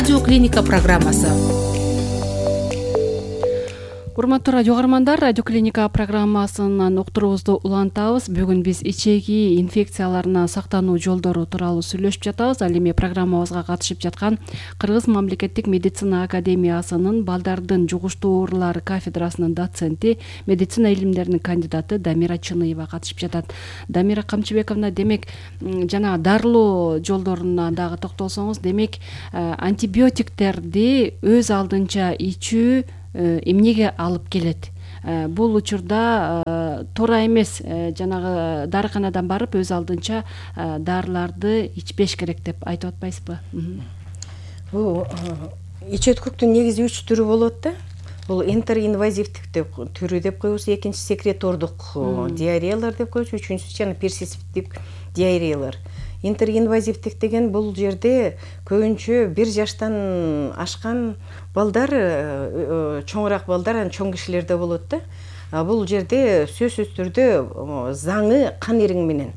Радио Клиника программасы. Урматтуу радио каармандар, Радио Клиника программасынын уктуруубузду улантабыз. Бүгүн биз ичеги инфекцияларынан сактануу жолдору тууралуу сүйлөшүп жатабыз. Ал эми программабызга катышып жаткан Кыргыз мамлекеттик медицина академиясынын балдардын жугуштуу оорулары кафедрасынын доценти, медицина илимдеринин кандидаты Дамира Чыныева катышып жатат. Дамира Камчыбековна, демек жана дарылоо жолдоруна дагы токтолсоңуз, демек антибиотиктерди өз алдынча ичүү эмнеге алып келет? Бул учурда туура эмес, жанагы дарыканадан барып өз алдынча дарыларды ичпеш керек деп айтып атпайсызбы? Бул ич өткөктүн негизи 3 түрү болот да. Бул интеринвазивдик түрү деп коебуз, экинчи секретордук диареялар деп коебуз, үчүнчүсү жана персистивдик диареялар. Интеринвазивдик деген бул жерде көбүнчө 1 жаштан ашкан балдар, чоңураак балдар, чоң кишилерде болот да. Бул жерде сөзсүз түрдө заңы кан ириң менен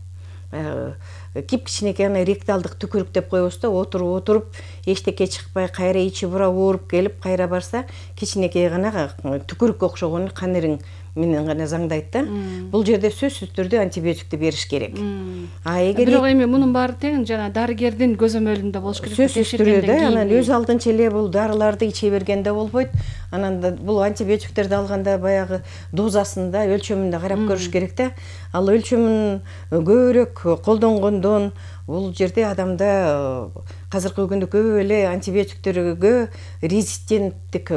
кичинекей ректалдык түкүрүк деп коебуз да, отуруп эчтеке чыкпай, кайра ичи бура ооруп келип, кайра барса кичинекей гана түкүрүккө окшогон кан ириң менен гана заңдайт да. Бул жерде сөзсүз түрдө антибиотикти бериш керек. Бирок эми мунун баары тең жана дарыгердин көзөмөлүндө болуш керек. Сөзсүз түрдө да, анан өз алдынча эле бул дарыларды иче бергенде болбойт. Анан бул антибиотиктерди алганда баягы дозасында, өлчөмүндө карап көрүш керек да. Ал өлчөмүн көбүрөөк колдонгондон бул жерде адамда азыркы күндө көп эле антибиотиктерге резистенттик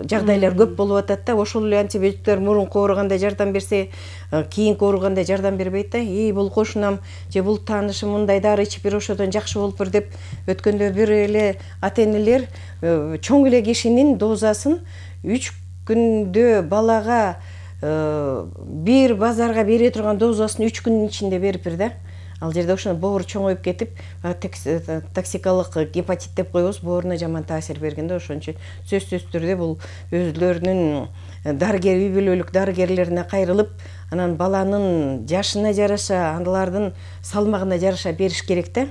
жагдайлар көп болуп атат да. Ошол эле антибиотиктер мурунку ооруганда жардам берсе, кийинки ооруганда жардам бербейт да. Бул кошунам же бул таанышым мындай дары ичип бер, ошодон жакшы болуптур деп өткөндө бир эле ата-энелер чоң эле кишинин дозасын 3 күндө балага бир базарга бере турган дозасын 3 күндүн ичинде бериптир да. Ал жерде ошондо боору чоңоюп кетип, токсикалык гепатит деп коебуз, бооруна жаман таасир бергенде ошончо сөзсүз түрдө бул өзлөрүнүн дарыгер, үй бүлөлүк дарыгерлерине кайрылып, анан баланын жашына жараша, аналардын салмагына жараша бериш керек да.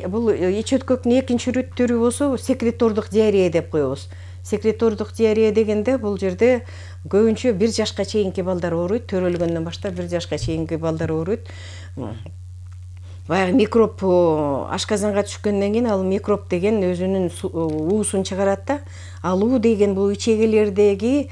Бул ич өткөктүн экинчи түрү болсо секретордук диарея деп коебуз. Секретордук диарея дегенде бул жерде көбүнчө 1 жашка чейинки балдар ооруйт, төрөлгөндөн баштап 1 жашка чейинки балдар ооруйт. Баягы микроб ашказанга түшкөндөн кийин ал микроб деген өзүнүн уусун чыгарат да. Ал уу деген бул ичегелердеги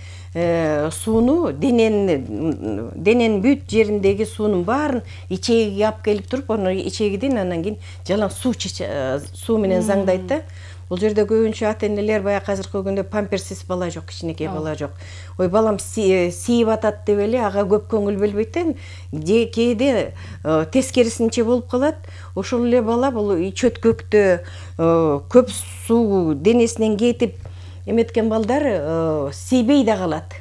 сууну, дененин бүт жериндеги суунун баарын ичегиге алып келип туруп, аны ичегиден анан кийин жалаң суу менен заңдайт да. Бул жерде көбүнчө ата-энелер баягы азыркы күндө памперсиз бала жок, кичинекей бала жок. Ой, балам сийип атат деп эле ага көп көңүл бөлбөйт да. Кээде тескерисинче болуп калат. Ошол эле бала бул ич өткөктө көп суу денесинен кетип эметкен балдар тийбей да калат.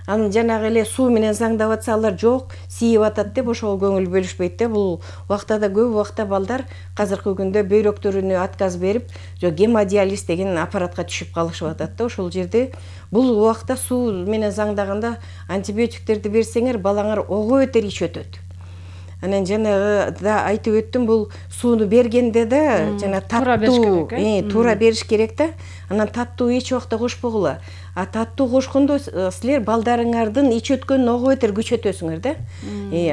Анын жанагы эле суу менен заңдап атса, алар жок, сийип атат деп ошого көңүл бөлүшпөйт да. Бул убакта да көп убакта балдар азыркы күндө бөйрөктөрүнө отказ берип, гемодиализ деген аппаратка түшүп калышып атат да. Ошол жерде бул убакта суу менен заңдаганда антибиотиктерди берсеңер, балаңар ого өтөр ич өтөт. Анан жанагы да айтып өттүм, бул сууну бергенде да жана таттуу туура бериш керек да. Анан таттуу эч убакта кошпогула. Таттуу кошкондо силер балдарыңардын ич өткөнүн ого өтөр күчөтөсүңөр да.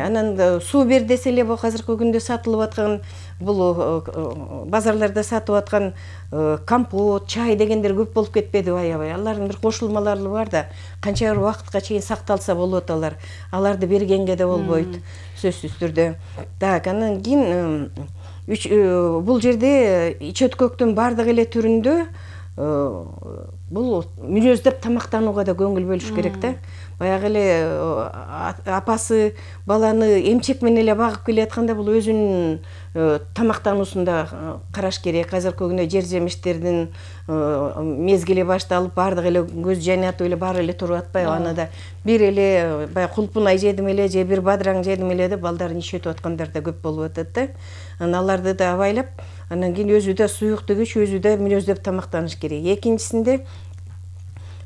Анан суу бер десе эле бул азыркы күндө сатылып аткан, бул базарларда сатып аткан компот, чай дегендер көп болуп кетпедиби аябай. Алардын бир кошулмалары бар да. Канча бир убакытка чейин сакталса болот алар. Аларды бергенге да болбойт, сөзсүз түрдө. Так, анан кийин бул жерде ич өткөктүн бардык эле түрүндө бул мүнөздөп тамактанууга да көңүл бөлүш керек да. Баягы эле апасы баланы эмчек менен эле багып келатканда бул өзүнүн тамактануусунда караш керек. Азыркы күндө жер жемиштердин мезгили башталып, бардык эле көз жайнатып эле баары эле туруп атпайбы? Аны да бир эле баягы кулпунай жедим эле же бир бадыраң жедим эле деп балдарын ич өтүп аткандар да көп болуп атат да. Анан аларды да абайлап, анан кийин өзү да суюктук ич, өзү да мүнөздөп тамактаныш керек. Экинчисинде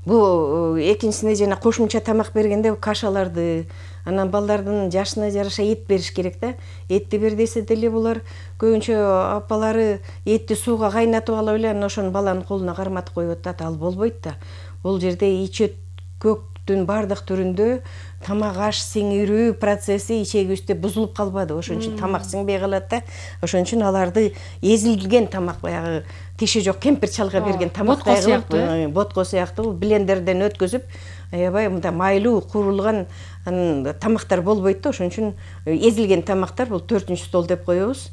бул экинчисине жана кошумча тамак бергенде кашаларды, анан балдардын жашына жараша эт бериш керек да. Этти бер десе деле булар көбүнчө апалары этти сууга кайнатып алып эле анан ошону баланын колуна карматып коюп атат. Ал болбойт да. Бул жерде ичет көктүн бардык түрүндө тамак аш сиңирүү процесси ичегибизде бузулуп калбады. Ошон үчүн тамак сиңбей калат да. Ошон үчүн аларды эзилген тамак, баягы тиши жок кемпир чалга берген тамактай кылып, ботко сыяктуу блендерден өткөзүп, аябай мындай майлуу куурулган тамактар болбойт да. Ошон үчүн эзилген тамактар бул 4-чү стол деп коебуз.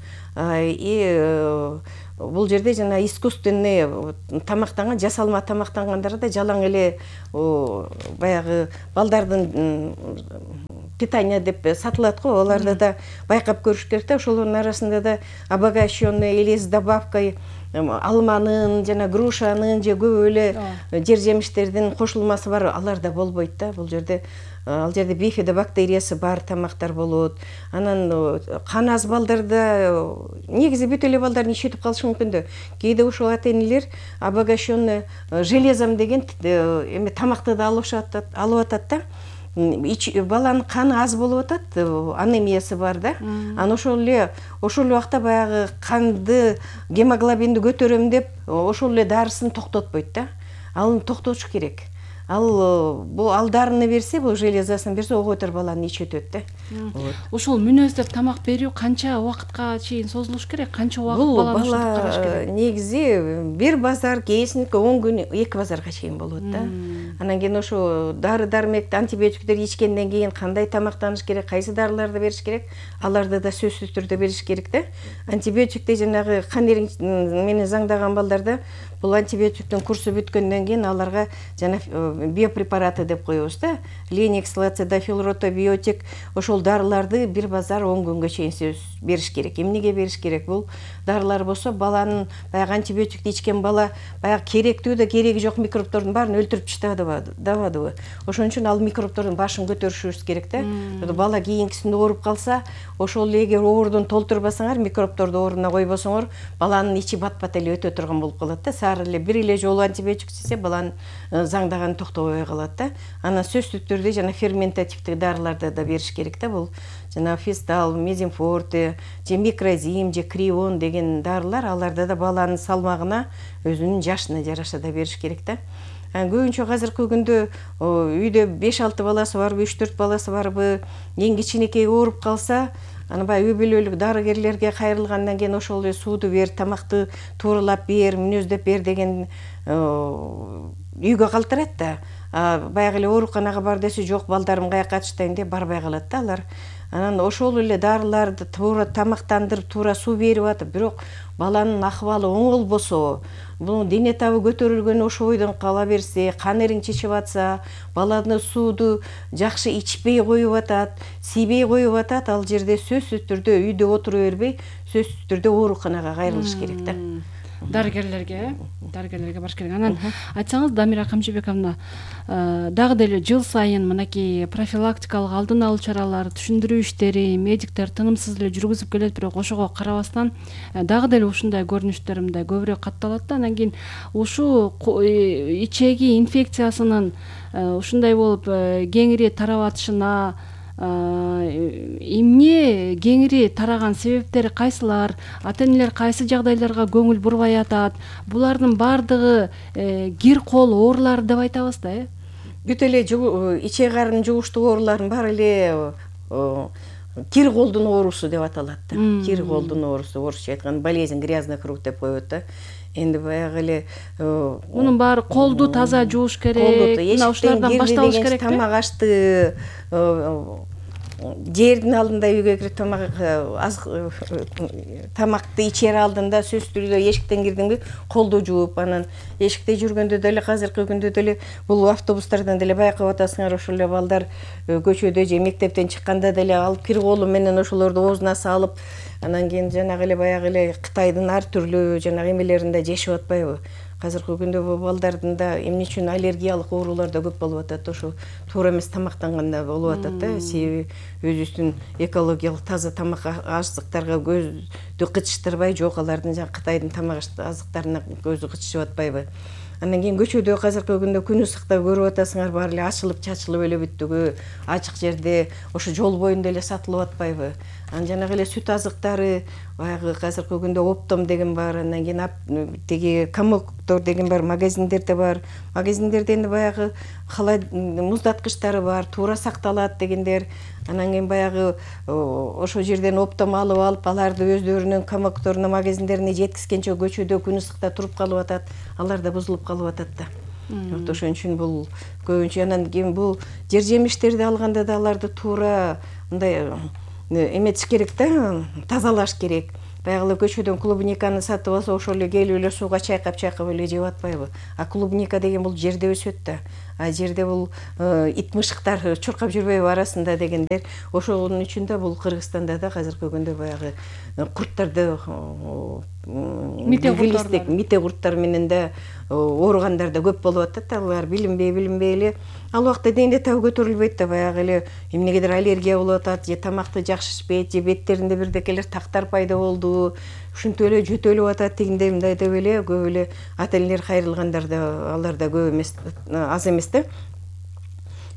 Бул жерде жана искусственный тамактанган, жасалма тамактангандар да жалаң эле баягы балдардын питание деп сатылат го, оларды да байкап көрүш керек да. Ошолордун арасында да обогащенный или с добавкой алманын жана грушанын же көп эле жер жемиштердин кошулмасы бар, алар да болбойт да. Бул жерде ал жерде бифидобактериясы бар тамактар болот. Анан кан аз балдарда негизи бүт эле балдар ичетип калышы мүмкүн да. Кээде ушул ата-энелер обогащенный железом деген эме тамакты да алып атат да. Баланын каны аз болуп атат, анемиясы бар да. Анан ошол эле убакта баягы канды, гемоглобинди көтөрөм деп ошол эле дарысын токтотпойт да. Аны токтотуш керек. Ал дарыны берсе, бул железасын берсе, оготор баланы ичетет да. Ошол мүнөздөп тамак берүү канча убакытка чейин созулуш керек? Канча убакыт баланы ушинтип караш керек? Негизи бир базар, кээсиники 10 күн, 2 базарга чейин болот да. Анан кийин ошо дары-дармекти, антибиотиктер ичкенден кийин кандай тамактаныш керек, кайсы дарыларды бериш керек, аларды да сөзсүз түрдө бериш керек да. Антибиотикти жанагы кан эриң менен заңдаган балдарда бул антибиотиктин курсу бүткөндөн кийин аларга жана биопрепараты деп коебуз да. Леникс, лацидофил, ротобиотик, ошол дарыларды бир базар 10 күнгө чейин бериш керек. Эмнеге бериш керек? Бул дарылар болсо баланын баягы антибиотикти ичкен бала баягы керектүү да кереги жок микробтордун баарын өлтүрүп таштабадыбы. Ошон үчүн ал микробтордун башын көтөрүшүбүз керек да. Бала кийинкисинде ооруп калса, ошол эгер оорудун толтурбасаңар, микробторду ордуна койбосоңор, баланын ичи бат-бат эле өтө турган болуп калат да. Сары эле бир эле жолу антибиотик ичсе, баланын заңдаганы токтобой калат да. Анан сөзсүз түрдө жана ферментативдик дарыларды да бериш керек да. Бул жана фистал, мезинфорте, же микрозим, же крион деген дарылар, аларды да баланын салмагына, өзүнүн жашына жараша да бериш керек да. Көбүнчө азыркы күндө үйдө 5-6 баласы барбы, 3-4 баласы барбы, эң кичинекей ооруп калса, аны баягы үй бүлөлүк дарыгерлерге кайрылгандан кийин ошол эле сууду бер, тамакты тууралап бер, мүнөздөп бер деген үйгө калтырат да. Баягы эле ооруканага бар десе, жок, балдарым каяка катыштайм деп барбай калат да алар. Анан ошол эле дарыларды туура тамактандырып, туура суу берип атып, бирок баланын акыбалы оңолбосо, бул дене табы көтөрүлгөн ошо бойдон кала берсе, кан эриң чечип атса, баланы сууду жакшы ичпей коюп атат, сийбей коюп атат, ал жерде сөзсүз түрдө үйдө отура бербей, сөзсүз түрдө ооруканага кайрылыш керек да. Дарыгерлерге барыш керек. Анан айтсаңыз, Дамира Камчыбековна, дагы деле жыл сайын мынакей профилактикалык алдын алуу чаралары, түшүндүрүү иштери медиктер тынымсыз эле жүргүзүп келет, бирок ошого карабастан дагы деле ушундай көрүнүштөр мындай көбүрөөк катталат да. Анан кийин ушу ичеги инфекциясынын ушундай болуп кеңири тарап атышына эмне кеңири тараган себептери кайсылар, ата-энелер кайсы жагдайларга көңүл бурбай атат? Булардын бардыгы кир кол оорулары деп айтабыз да, Бүт эле ичек карын жугуштук оорулардын баары эле кир колдун оорусу деп аталат да. Кир колдун оорусу, орусча айтканда болезнь грязных рук деп коет да. Энди баягы эле мунун баары колду таза жууш керек, мына ушулардан башталыш керек. Тамак ашты, жердин алдында үйгө кирип тамакты ичер алдында сөзсүз түрдө эшиктен кирдиңби, колду жууп, анан эшикте жүргөндө деле, азыркы күндө деле бул автобустардан деле байкап атасыңар, ошол эле балдар көчөдө же мектептен чыкканда деле алып кир колу менен ошолорду оозуна салып, анан кийин жанагы эле баягы эле Кытайдын ар түрлүү жанагы эмелеринде жешип атпайбы? Азыркы күндө бул балдардын да эмне үчүн аллергиялык оорулар да көп болуп атат, ошо туура эмес тамактанганда болуп атат да. Себеби өзүбүздүн экологиялык таза тамак азыктарга көздү кычыштырбай, жок алардын жана Кытайдын тамак азыктарына көзү кычышып атпайбы? Андан кийин көчөдө азыркы күндө күн ысыкта көрүп атасыңар, баары эле ачылып чачылып эле бүттүгү, ачык жерде ошо жол боюнда эле сатылып атпайбы? Анан жанагы эле сүт азыктары баягы азыркы күндө Оптом деген бар, андан кийин тиги Комоктор деген бар, магазиндерде бар. Магазиндерде энди баягы муздаткычтары бар, туура сакталат дегендер. Анан кийин баягы ошол жерден Оптом алып, аларды өздөрүнүн Комокторуна, магазиндерине жеткизгенче көчөдө күн ысыкта туруп калып атат. Алар да бузулуп калып атат да. Вот ошон үчүн бул көбүнчө анан кийин бул жер жемиштерди алганда да аларды туура мындай эметиш керек да, тазалаш керек. Баягы эле көчөдөн клубниканы сатып алса, ошол эле келип эле сууга чайкап эле жеп атпайбы? А клубника деген бул жерде өсөт да. А жерде бул ит мышыктар чуркап жүрбөйбү арасында дегендер. Ошонун үчүн да бул Кыргызстанда да азыркы күндө баягы курттарды мите курттар менен да ооругандар да көп болуп атат да. Алар билинбей эле ал убакта дегенде табы көтөрүлбөйт да, баягы эле эмнегедир аллергия болуп атат, же тамакты жакшы ичпейт, же беттеринде бирдекелер тактар пайда болду, ушинтип эле жөтөлүп атат дегендей мындай деп эле көп эле ата энелер кайрылгандар да алар да көп эмес, аз эмес да.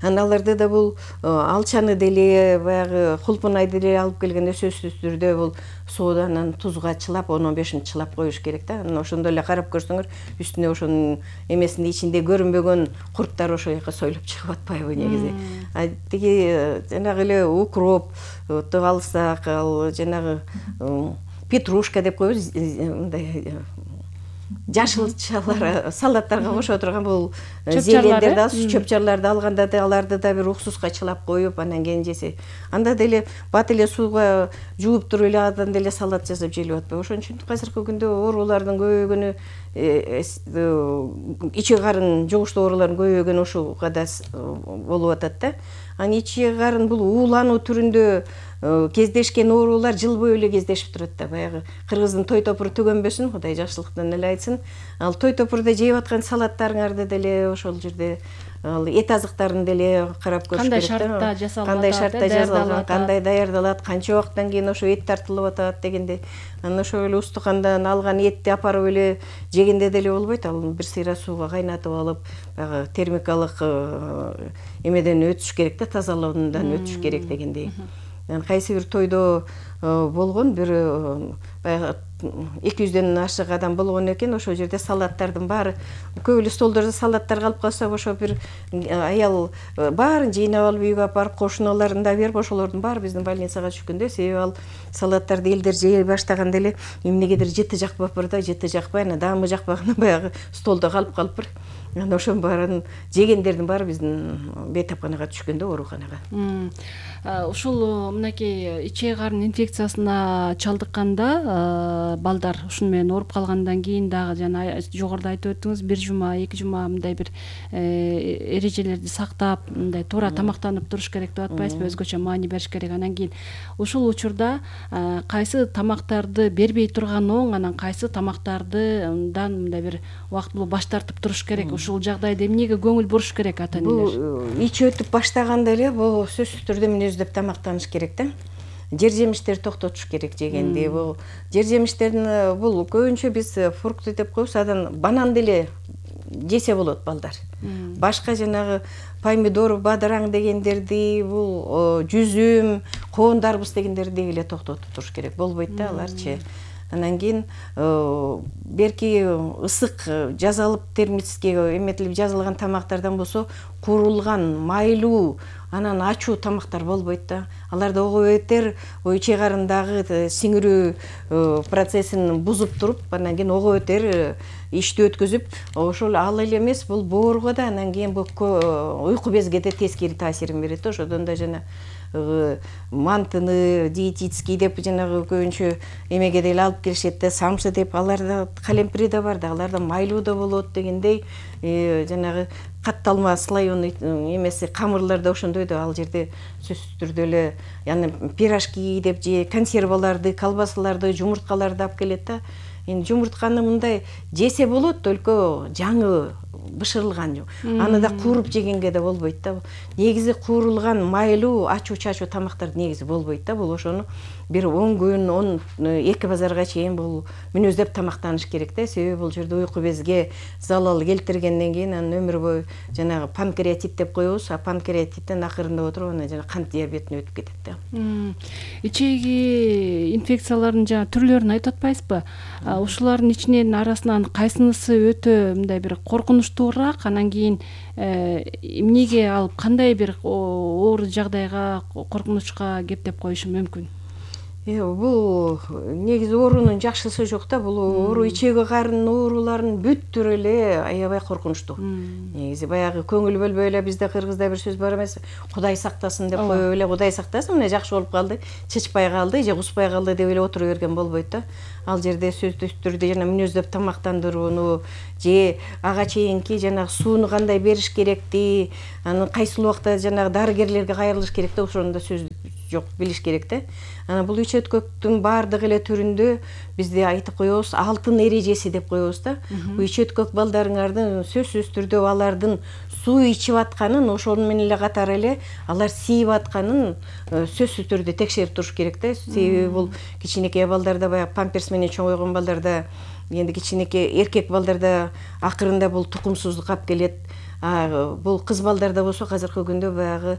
Анан аларды да бул алчаны деле баягы кулпунай деле алып келгенде сөзсүз түрдө бул суудан анан тузга чылап 10-15 чылап коюш керек да. Анан ошондо эле карап көрсөңөр үстүнө ошонун эмесинде ичинде көрүнбөгөн курттар ошол жака союлуп чыгып атпайбы негизи. А тиги жанагы эле укропту алсак, ал жанагы петрушка деп коебуз, мындай жашылчалар салаттарга кошо турган бул зелендерди, чөп-чарларды алганда да аларды да бир уксуска чылап коюп, анан кийин жесе. Анда деле бат эле сууга жууп туруп эле андан деле салат жасап желип атпайбы? Ошон үчүн азыркы күндө оорулардын көбөйгөнү, ичи карын жугуштуу оорулардын көбөйгөнү ушуга да болуп атат да. Анан ичи карын бул уулануу түрүндө кездешкен оорулар жыл бою эле кездешип турат да. Баягы кыргыздын той топуру түгөнбөсүн, Кудай жакшылыктан эле айтсын. Ал той топурда жеп аткан салаттарыңарды деле ошол жерде ал эт азыктарын деле карап көрүш керек да. Кандай шартта жасалат, кандай шартта жасалган, кандай даярдалат, канча убакыттан кийин ошо эт тартылып атат дегенде. Анан ошол эле устукандан алган этти апарып эле жегенде деле болбойт. Ал бир сыйра сууга кайнатып алып, баягы термикалык эмеден өтүш керек да, тазалоондан өтүш керек дегендей. Анан кайсы бир тойдо болгон бир баягы 200дөн ашык адам болгон экен. Ошол жерде салаттардын баары көп эле столдордо салаттар калып калса, ошо бир аял баарын жыйнап алып үйгө алып барып кошуналарын да берип, ошолордун баары биздин больницага түшкөн да. Себеби ал салаттарды элдер жей баштаганда эле эмнегедир жыты жакпаптыр да, жыты жакпай, анан даамы жакпагандан баягы столдо калыптыр. Анан ошонун баарын жегендердин баары биздин бейтапканага түшкөн да, ооруканага. Ушул мынакей ичек карын инфекциясына чалдыкканда балдар ушуну менен ооруп калгандан кийин дагы жана жогоруда айтып өттүңүз, 1 жума, 2 жума мындай бир эрежелерди сактап, мындай туура тамактанып туруш керек деп атпайсызбы? Өзгөчө маани бериш керек. Анан кийин ушул учурда кайсы тамактарды бербей турган оң, анан кайсы тамактардан мындай бир убактылуу баш тартып туруш керек? Ушул жагдайда эмнеге көңүл буруш керек ата энелер? Бул ич өтүп баштаганда эле бул сөзсүз түрдө мүнөздөп тамактаныш керек да. Жер жемиштерди токтотуш керек жегенде. Бул жер жемиштерин бул көбүнчө биз фрукты деп коебуз, адан банан деле жесе болот балдар. Башка жанагы помидор, бадыраң дегендерди, бул жүзүм, коон дарбыз дегендерди эле токтотуп туруш керек. Болбойт да аларчы. Анан кийин берки ысык жазалып термически эметилип жазылган тамактардан болсо, куурулган, майлуу, анан ачуу тамактар болбойт да. Аларда ого бетер ичек карындагы сиңирүү процессин бузуп туруп, анан кийин ого бетер ишти өткөзүп, ошол ал эле эмес, бул боорго да, анан кийин бул уйку безге да тескери таасирин берет. Ошодон да жана мантыны, диетический деп жанагы көбүнчө эмеге деле алып келишет да, самсы деп, аларда калемпри да бар да, аларда майлуу да болот дегендей, жанагы катталма слоеный эмеси камырлар да ошондой да, ал жерде сөзсүз түрдө эле яны пирожки деп же консерваларды, колбасаларды, жумурткаларды алып келет да. Эми жумуртканы мындай жесе болот, только жаңы бышырылган жок. Аны да кууруп жегенге да болбойт да. Негизи куурулган майлуу ачуу чачуу тамактар негизи болбойт да. Бул ошону бир 10 күн, 2 базарга чейин бул мүнөздөп тамактаныш керек да. Себеби бул жерде уйку безге залал келтиргенден кийин анын өмүр бою жанагы панкреатит деп коебуз. Панкреатиттен акырында отуруп анан жана кант диабетине өтүп кетет да. Ичеги инфекциялардын жана түрлөрүн айтып атпайсызбы? Ушулардын ичинен арасынан кайсынысы өтө мындай бир коркунучтуураак, анан кийин эмнеге алып кандай бир оор жагдайга, коркунучка кептеп коюшу мүмкүн? Бул негизи оорунун жакшысы жок да. Бул оору ичеги карындын ооруларынын бүт түрү эле аябай коркунучтуу. Негизи баягы көңүл бөлбөй эле, бизде кыргызда бир сөз бар эмес, Кудай сактасын деп коюп эле, Кудай сактасын, мына жакшы болуп калды, чычпай калды же куспай калды деп эле отура берген болбойт да. Ал жерде сөзсүз түрдө жана мүнөздөп тамактандырууну же ага чейинки жанагы сууну кандай бериш керекти, анан кайсыл убакта жанагы дарыгерлерге кайрылыш керек да, ошону да сөз жок, билиш керек да. Анан бул ичөткөктүн баардык эле түрүндө бизде айтып коебуз, алтын эрежеси деп коебуз да. Бул ичөткөк балдарыңардын сөзсүз түрдө алардын суу ичип атканын, ошону менен эле катары эле алар сийип атканын сөзсүз түрдө текшерип туруш керек да. Себеби бул кичинекей балдарда, баягы памперс менен чоңойгон балдарда, энди кичинекей эркек балдарда акырында бул тукумсуздук алып келет. Бул кыз балдарда болсо азыркы күндө баягы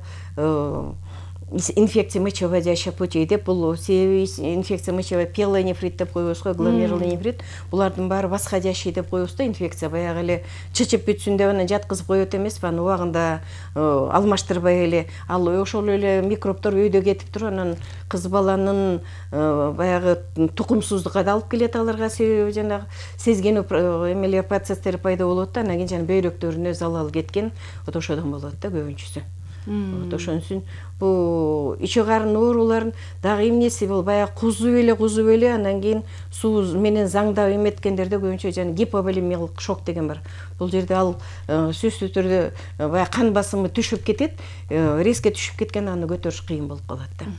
инфекция мочевыводящих путей деп, бул себеби инфекция мочевой пиелонефрит деп коебуз го, гломерулный нефрит. Булардын баары восходящий деп коебуз да, инфекция баягы эле чычып бүтсүн деп анан жаткызып коет эмеспи, аны убагында алмаштырбай эле. Ал ошол эле микробдор өйдө кетип туруп, анан кыз баланын баягы тукумсуздукка да алып келет аларга, себеби жанагы сезгенүү эмелер процесстери пайда болот да, анан кийин жана бөйрөктөрүнө залал кеткен, вот ошодон болот да көбүнчүсү. Вот ошон үчүн бул иче карын ооруларын дагы эмнеси бул баягы кузуп эле анан кийин суу менен заңдап эметкендерде көбүнчө жана гиповолемиялык шок деген бар. Бул жерде ал сөзсүз түрдө баягы кан басымы түшүп кетет, резко түшүп кеткен, аны көтөрүш кыйын болуп калат да.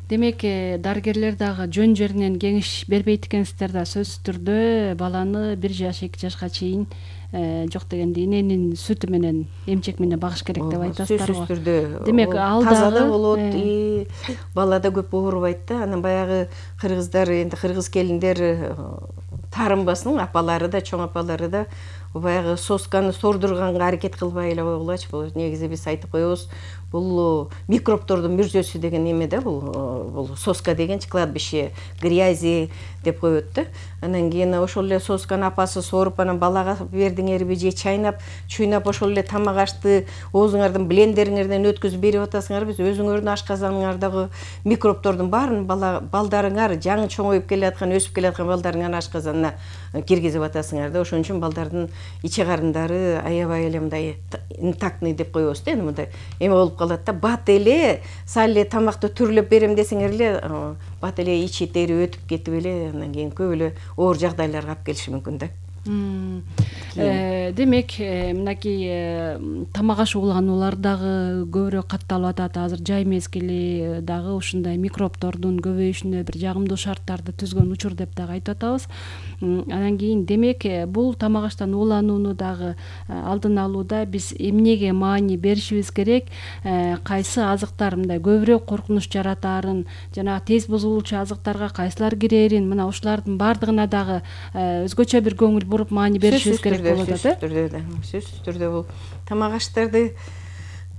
Демек, дарыгерлер дагы жөн жеринен кеңеш бербейт экенсиздер да, сөзсүз түрдө баланы 1 жаш 2 жашка чейин жок дегенде иненин сүтү менен, эмчек менен багыш керек деп айтасыздар го. Сөзсүз түрдө. Демек, ал таза да болот, бала да көп оорубайт да. Анан баягы кыргыздар, энди кыргыз келиндер таарынбасын, апалары да, чоң апалары да баягы сосканы сордурганга аракет кылбай эле койгулачы. Бул негизи биз айтып коебуз, бул микробдордун мүрзөсү деген эме да, бул соска дегенчи, кладбище грязи деп коет да. Анан кийин ошол эле сосканы апасы соруп, анан балага бердиңерби же чуйнап ошол эле тамак ашты оозуңардын блендериңерден өткүзүп берип атасыңарбы, өзүңөрдүн ашказаныңардагы микробдордун баарын балдарыңар, жаңы чоңоюп келаткан, өсүп келаткан балдарыңардын ашказанына киргизип атасыңар да. Ошон үчүн балдардын иче карындары аябай эле мындай интактный деп коебуз да, мындай эме болуп калат да. Бат эле сал эле тамакты түрлөп берем десеңер эле, бат эле ичи тери өтүп кетип эле, анан кийин көп эле оор жагдайларга алып келиши мүмкүн да. Демек, мынакей тамак аш уулануулар дагы көбүрөөк катталып атат. Азыр жай мезгили дагы ушундай микробдордун көбөйүшүнө бир жагымдуу шарттарды түзгөн учур деп дагы айтып атабыз. Анан кийин демек, бул тамак аштан ууланууну дагы алдын алууда биз эмнеге маани беришибиз керек? Кайсы азыктар мындай көбүрөөк коркунуч жаратаарын, жана тез бузулуучу азыктарга кайсылар кирерин, мына ушулардын баардыгына дагы өзгөчө бир көңүл буруп маани беришибиз керек болот да. Сөзсүз түрдө бул тамак аштарды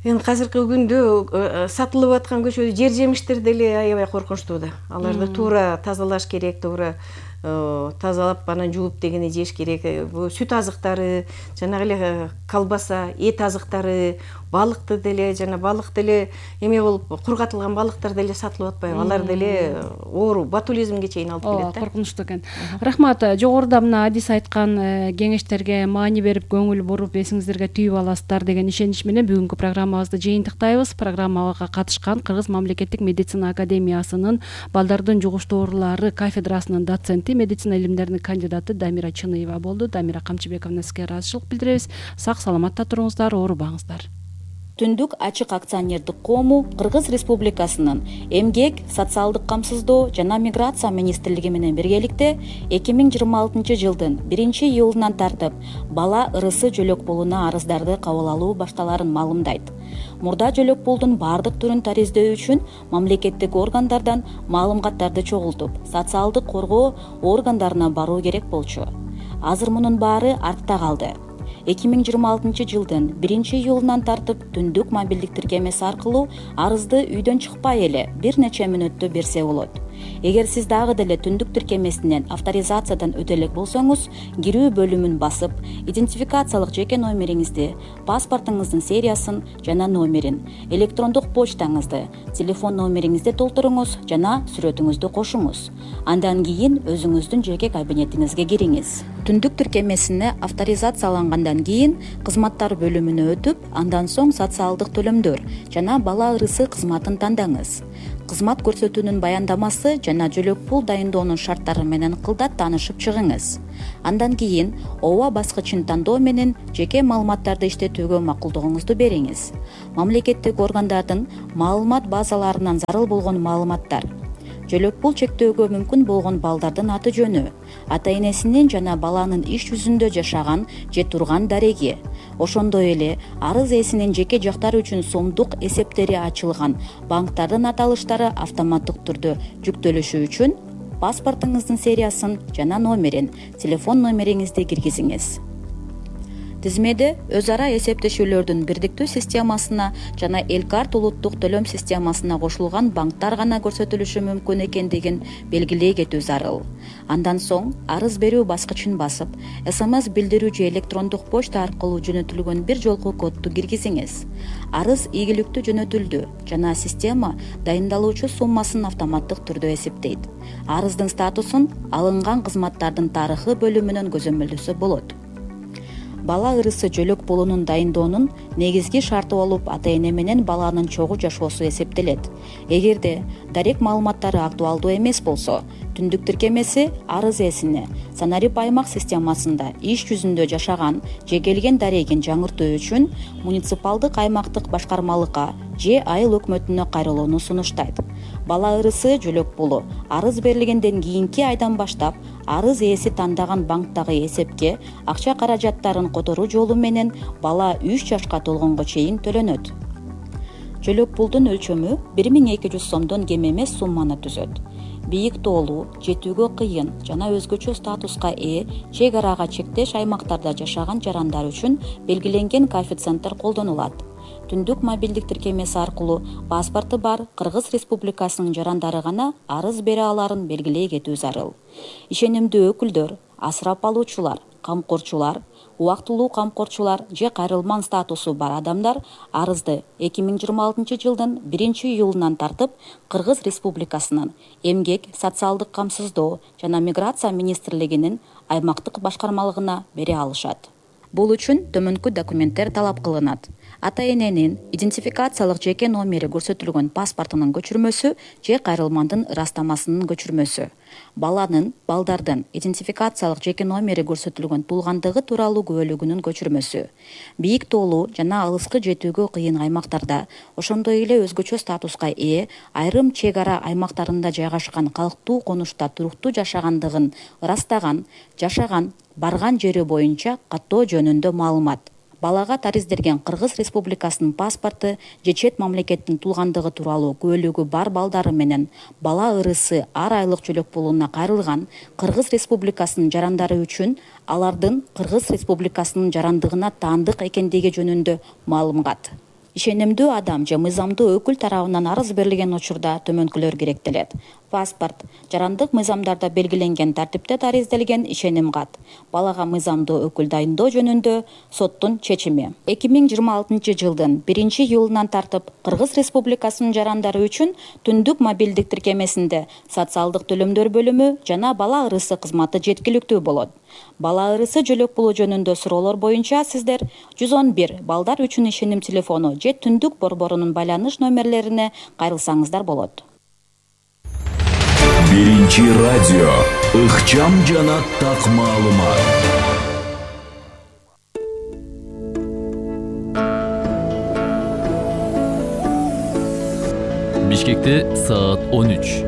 эми азыркы күндө сатылып аткан көчөдө жер жемиштер деле аябай коркунучтуу да. Аларды туура тазалаш керек, туура тазалап анан жууп дегенде жеш керек. Бул сүт азыктары, жанагы эле колбаса, эт азыктары, балыкты деле, жана балык деле эме болуп, кургатылган балыктар деле сатылып атпайбы? Алар деле оору, ботулизмге чейин алып келет да. Коркунучтуу экен. Рахмат. Жогоруда мына Адис айткан кеңештерге маани берип, көңүл буруп, эсиңиздерге түйүп аласыздар деген ишенич менен бүгүнкү программабызды жыйынтыктайбыз. Программага катышкан Кыргыз мамлекеттик медицина академиясынын балдардын жугуштуу оорулары кафедрасынын доценти, медицина илимдеринин кандидаты Дамира Чыныева болду. Дамира Камчыбековна, сизге ыраазычылык билдиребиз. Сак саламатта туруңуздар, оорубаңыздар. Түндүк ачык акционердик коому Кыргыз Республикасынын Эмгек, социалдык камсыздоо жана миграция министрлиги менен биргеликте 2026 жылдын 1-июлунан тартып бала ырысы жөлөк пулуна арыздарды кабыл алуу башталарын маалымдайт. Мурда жөлөк пулдун бардык түрүн тариздөө үчүн мамлекеттик органдардан маалыматтарды чогултуп, социалдык коргоо органдарына баруу керек болчу. Азыр мунун баары артта калды. 2026 жылдын 1-июлунан тартып түндүк мобилдик тиркемеси аркылуу арызды үйдөн чыкпай эле бир нече мүнөттө берсе болот. Эгер сиз дагы деле түндүк тиркемесинен авторизациядан өтө элек болсоңуз, кирүү бөлүмүн басып, идентификациялык жеке номериңизди, паспортуңуздун сериясын жана номерин, электрондук почтаңызды, телефон номериңизди толтуруңуз жана сүрөтүңүздү кошуңуз. Андан кийин өзүңүздүн жеке кабинетиңизге кириңиз. Түндүк тиркемесине авторизациялангандан кийин кызматтар бөлүмүнө өтүп, андан соң социалдык төлөмдөр жана бала ырысы кызматын тандаңыз. Кызмат көрсөтүүнүн баяндамасы жана жөлөк пул дайындоонун шарттары менен кылдат таанышып чыгыңыз. Андан кийин ооба баскычын тандоо менен жеке маалыматтарды иштетүүгө макулдугуңузду бериңиз. Мамлекеттик органдардын маалымат базаларынан зарыл болгон маалыматтар, жөлөк пул чектөөгө мүмкүн болгон балдардын аты жөнү, ата энесинин жана баланын иш жүзүндө жашаган же турган дареги, ошондой эле арыз ээсинин жеке жактары үчүн сомдук эсептери ачылган банктардын аталыштары автоматтык түрдө жүктөлүшү үчүн паспортуңуздун сериясын жана номерин, телефон номериңизди киргизиңиз. Тизмеде өз ара эсептешүүлөрдүн бирдиктүү системасына жана Элкарт улуттук төлөм системасына кошулган банктар гана көрсөтүлүшү мүмкүн экендигин белгилей кетүү зарыл. Андан соң арыз берүү баскычын басып, СМС билдирүү же электрондук почта аркылуу жөнөтүлгөн бир жолку кодду киргизиңиз. Арыз ийгиликтүү жөнөтүлдү жана система дайындалуучу суммасын автоматтык түрдө эсептейт. Арыздын статусун алынган кызматтардын тарыхы бөлүмүнөн көзөмөлдөсө болот. Бала ырысы жөлөк пулунун дайындоонун негизги шарты болуп ата эне менен баланын чогуу жашоосу эсептелет. Эгерде дарек маалыматтары актуалдуу эмес болсо, түндүк тиркемеси арыз ээсине санарип аймак системасында иш жүзүндө жашаган же келген дарегин жаңыртуу үчүн муниципалдык аймактык башкармалыкка же айыл өкмөтүнө кайрылууну сунуштайт. Бала ырысы жөлөк пулу арыз берилгенден кийинки айдан баштап арыз ээси тандаган банктагы эсепке акча каражаттарын которуу жолу менен бала 3 жашка толгонго чейин төлөнөт. Жөлөк пулдун өлчөмү 1200 сомдон кем эмес сумманы түзөт. Бийик тоолуу, жетүүгө кыйын жана өзгөчө статуска ээ чек арага чектеш аймактарда жашаган жарандар үчүн белгиленген коэффициенттер колдонулат. Түндүк мобилдик тиркемеси аркылуу паспорту бар Кыргыз Республикасынын жарандары гана арыз бере аларын белгилей кетүү зарыл. Ишенимдүү өкүлдөр, асырап алуучулар, камкорчулар, убактылуу камкорчулар же кайрылман статусу бар адамдар арызды 2026 жылдын 1-июлунан тартып Кыргыз Республикасынын Эмгек, социалдык камсыздоо жана миграция министрлигинин аймактык башкармалыгына бере алышат. Бул үчүн төмөнкү документтер талап кылынат. Ата эненин идентификациялык жеке номери көрсөтүлгөн паспортунун көчүрмөсү же кайрылмандын ырастамасынын көчүрмөсү. Балдардын идентификациялык жеке номери көрсөтүлгөн туулгандыгы тууралуу күбөлүгүнүн көчүрмөсү. Бийик тоолуу жана алыскы жетүүгө кыйын аймактарда, ошондой эле өзгөчө статуска ээ айрым чек ара аймактарында жайгашкан калктуу конушта туруктуу жашагандыгын ырастаган, жашаган, барган жери боюнча каттоо жөнүндө маалымат. Балага тариздерген Кыргыз Республикасынын паспорту же чет мамлекеттин туулгандыгы тууралуу күбөлүгү бар балдары менен бала ырысы ар айлык жөлөк пулуна кайрылган Кыргыз Республикасынын жарандары үчүн алардын Кыргыз Республикасынын жарандыгына таандык экендиги жөнүндө маалымат. Ишенимдүү адам же мыйзамдуу өкүл тарабынан арыз берилген учурда төмөнкүлөр керектелет. Паспорт, жарандык мыйзамдарда белгиленген тартипте тариздалген ишеним кат, балага мыйзамдуу өкүл дайындоо жөнүндө соттун чечими. 2026 жылдын 1-июлунан тартып Кыргыз Республикасынын жарандары үчүн түндүк мобилдик тиркемесинде социалдык төлөмдөр бөлүмү жана бала ырысы кызматы жеткиликтүү болот. Бала ырысы жөлөк пулу жөнүндө суроолор боюнча сиздер 111 балдар үчүн ишеним телефону же түндүк борборунун байланыш номерлерине кайрылсаңыздар болот. Биринчи радио ыкчам жана так маалымат. Бишкекте саат 13.